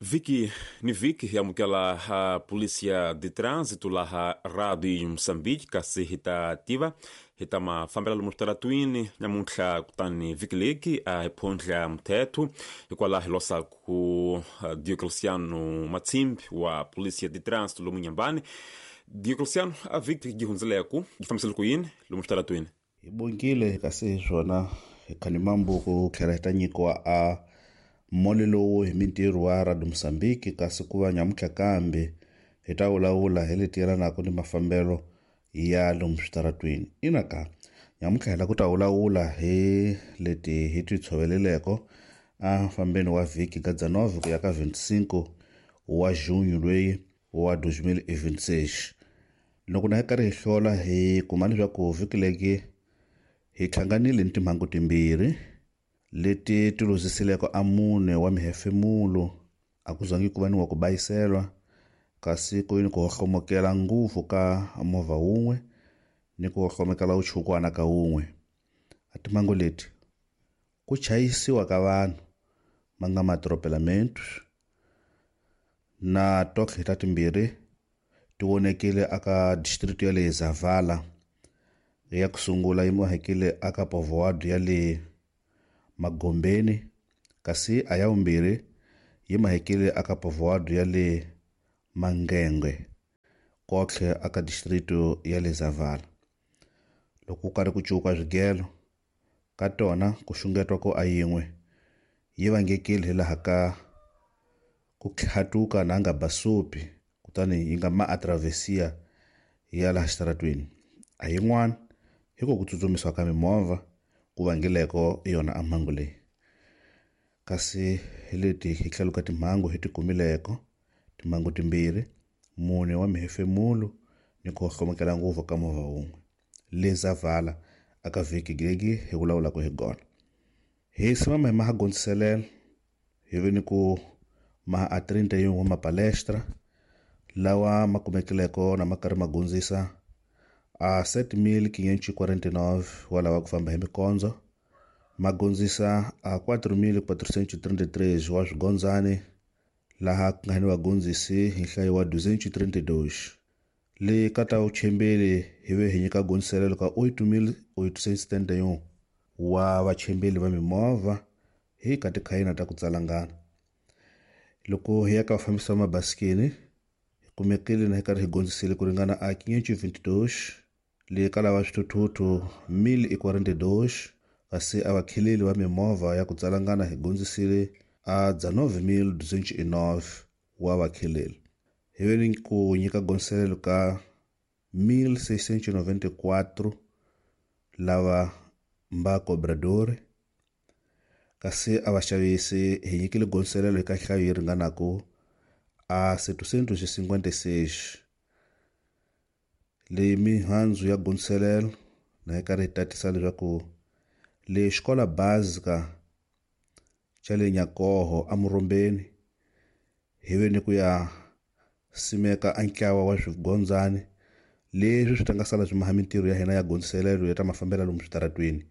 Vhiki ni vhiki hi amukela ha Polícia de Trânsito laha Rádio Moçambique, kasi hi ta tiva hi ta mafambelo lomu switaratwini namuntlha. Kutani vhiki leki a hi phondla mthetho, hikwalaho hi losaku Diocleciano Matsimbi wa Polícia de Trânsito lomu Nyambani. Diocleciano, a vhiki yi hundzileku yi fambisele ku yini lomu switaratwini? Hi bongile, kasi hi swona hi khanimambuku tlhela hi ta nyikiwa a mole lowu hi mintirho wa Radio Mozambique. Kasi ku va nyamuntlha kambe hi ta vulavula hi leti yelanaka ni mafambelo ya lomu switaratwini. Ina ka nyamuntlha hi la ku ta vulavula hi leti hi ti tshoveleleko a fambeni wa vhiki ka 19 ku ya ka 25 wa junho loyi wa 2026. Loko na hi karhi hi hlola, hi kuma leswaku vhiki leki hi hlanganile ni timhangu timbirhi leti ti lozisileko a mune wa mihefemulo. A ku zangi ku va ni wa ku bayiselwa, kasi ku ni ku hohlomokela ngopfu ka movha wun'we ni ku hohlomokela vuchukwana ka wun'we. A timhangu leti ku chayisiwa ka vanhu ma nga maatropelamentos na totlhe ta timbirhi ti vonekile aka district ya le Zavala. Ya ku sungula yi mahekile aka povoado ya le Magombeni, kasi a ya vumbirhi yi mahekile aka povoado ya le Mangengwe, kotlhe aka district ya le Zavala. Loko ku karhi ku cuka swigelo ka tona, ku xungetwa ko a yin'we yi vangekile hi laha ka ku tlhatuka na nga basupi, kutani yi nga ma atravesia ya laha xitaratwini. A yin'wana hi ku tsutsumisiwa ka mimovha ku vangileko yona a mhangu leyi. Kasi hi leti hi tlhelo ka timhangu hi ti kumileko timhangu timbirhi, mune wa mihefemulo ni ku hlomukela ngopfu ka movha wun'we le Zavala aka vhiki leki hi vulavulaka hi gona. Hi simama hi maha gondziselela hi ve ni ku maha a 31 wa mapalestra lawa ma kumekileko na ma karhi ma gondzisa a 7549 wa lava ku famba hi mikondzo, ma gondzisa a 4433 wa swigondzani, laha ku nga ni vagondzisi hi nhlayo wa 232. Le ka ta vuchembeli hi ve hi nyika gondziselelo ka 8871 wa vachembeli va mimovha hi ka tikhayina ta ku tsalangana. Loko hi ya ka vafambisi va mabasikeni, hi kumekile na hi karhi hi gondzisile ku ringana a 522. Le ka lava swithuthuthu 1042, kasi a vakheleli va mimovha ya ku tsalangana hi gondzisile a 19209 wa vakheleli. Hi ve ni ku nyika gondziselelo ka 1694 lava mba cobradori, kasi a vaxavisi hi nyikile gondziselelo eka nhlayo yi ringanaku a 756. Leyi mihandzu ya gondziselelo na yi karhi yi tatisa leswaku le xikola básica xa le Nyakoho eMurombeni hi ve ni ku ya simeka a ntlawa wa swigondzani leswi swi ta nga sala swi maha mintirho ya hina ya gondziselelo ya ta mafambelo lomu switaratweni,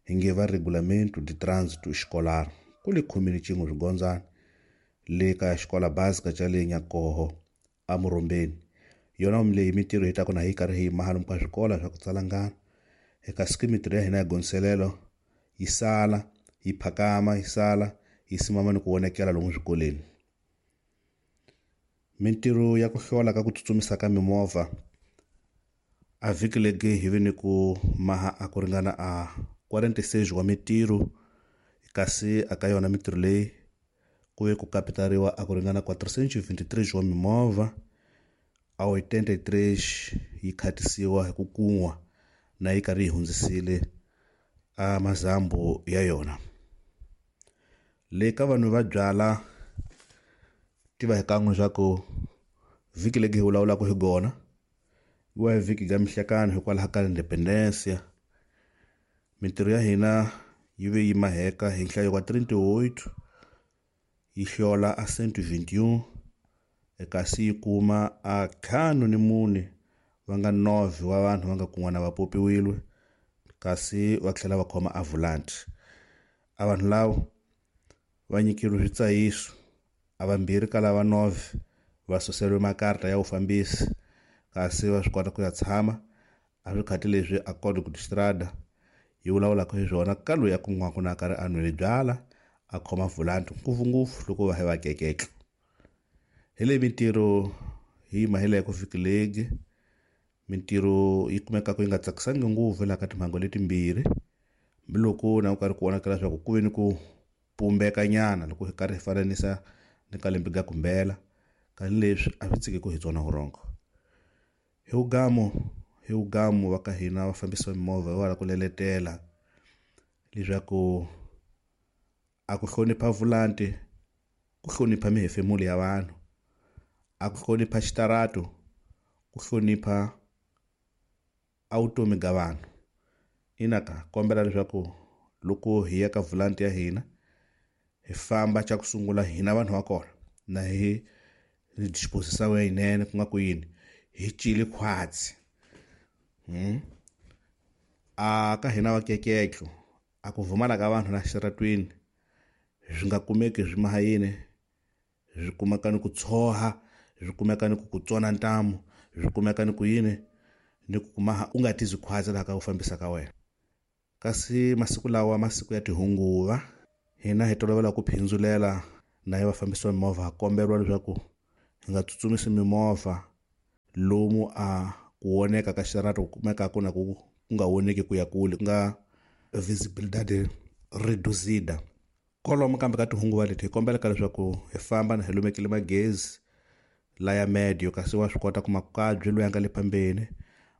hi nge va Regulamento de Trânsito Escolar. Ku le khumini cin'we swigondzani le ka xikola básica xa le Nyakoho eMurombeni. Yona leyi mintirho hi ta ku na hi karhi hi maha lomu ka swikola swa ku tsalangana. Eka siku mintirho ya hina ya gondziselelo yi sala yi phakama, yi sala yi simama ni ku vonekela lomu swikolweni. Mintirho ya ku hlola ka ku tsutsumisa ka mimovha a vhiki legi hi ve ni ku maha a ku ringana a 46 wa mintirho, kasi aka yona mintirho leyi ku ve ku kapitariwa a ku ringana 423 wa mimovha, a 83 yi khatisiwa hi ku kun'wa na yi karhi yi hundzisile a mazambu ya yona. Le ka vanhu va byala, tiva hi kan'we swa ku vhiki legi hi vulavulaka hi gona wa hi vhiki ga mihlekano hikwalaho ka Independencia. Mintirho ya hina yi ve yi maheka hi nhlayo wa 38, yi hlola a 121, kasi yi kuma a 54 va nga 9 wa vanhu va nga kun'wana va popiwile, kasi va tlhela va khoma a volant. A vanhu lavo va nyikeriwe switsayiso. A vambirhi ka lava 9 va suseriwe makarta ya vufambisi, kasi va swi kota ku ya tshama. A swi khati leswi a Código de Estrada yi vulavulaka hi swona ka loyi a kun'waku na karhi a nwile byala a khoma vulanti ngopfungopfu loko va hi va keketla. Hi leyi mintirho hi yima hi leyi ku vhiki legi mintirho yi kumekaka yi nga tsakisangi ngopfu laha ka timhangu letimbirhi, hambiloko na ku karhi ku vonakala leswaku ku ve ni ku pumbekanyana loko hi karhi hi fananisa ni ka lembe ga kumbela, kani leswi a swi tshiki ku hi tsona vurhongo. Hi vugamu va ka hina va fambisa mimovha hi wala ku leletela leswaku a ku hlonipha vulanti ku hlonipha mihefemulo ya vanhu, a ku hlonipha xitarato ku hlonipha a vutomi ga vanhu. Ina ka kombela leswaku loko hi ya ka vulanti ya hina hi famba xa ku sungula hina vanhu va kona na hi disposição yinene, ku nga ku yini hi cile khwatsi. A ka hina va keketlo a ku vumala ka vanhu la xitaratwini swi nga kumeki swi maha yini, swi kumeka ni ku tshoha, swi kumeka ni ku ku tsona ntamu, swi kumeka ni ku yini ni ku kuma u nga tizi khwatsi laha ka ku fambisa ka wena. Kasi masiku lawa masiku ya tihunguva hina hi tolovela ku phindulela na hi vafambisi va mimovha, ha komberiwa leswaku hi nga tsutsumisi mimovha lomu a ku voneka ka xitarato ku kumekaka na ku nga voneki ku ya kule, ku nga visibilidade reduzida. Kolomo kambe ka tihunguva leti hi kombelaka leswaku hi famba na hi lumekile magezi laya medio, kasi wa swi kota ku makabyi loyi a nga le phambeni,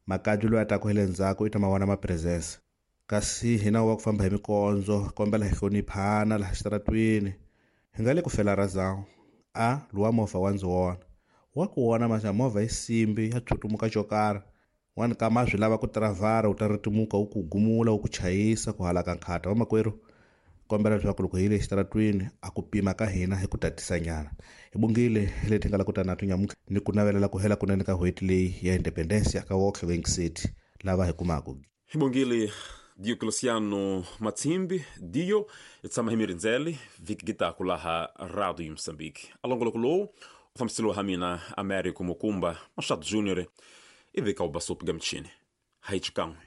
makabyi loyi a taka hi le ndzhaku i ta ma vona ma presence. Kasi hina wa ku famba hi mikondzo kombela hi hloniphana laha xitaratwini, hi nga le ku fela razão. A luwa movha wa ndzi wona wa ku wona maxa movha yi simbi ya tshutumuka xo karhi wani kama swi lava ku tiravhara wu ta ritimuka wu ku gumula wu ku chayisa ku halaka nkhata. Vamakwerhu, kombela leswaku loko hi le xitaratwini a ku pima ka hina hi ku tatisanyana. Hi bongile hi leti nga la ku ta na tinyamuka ni ku navelela ku hela kunene ka n'hweti leyi ya independence ka woxe City lava hi kumaka. Hi bongile Diocleciano Matsimbi Dio hi tshama hi mirindzele vhiki gitaku laha Radio Moçambique. A longoloko lowu u fambiseliwa ha mina Américo Mukumba Machado Júnior i vika u basopi ga michini. Haichikan'we.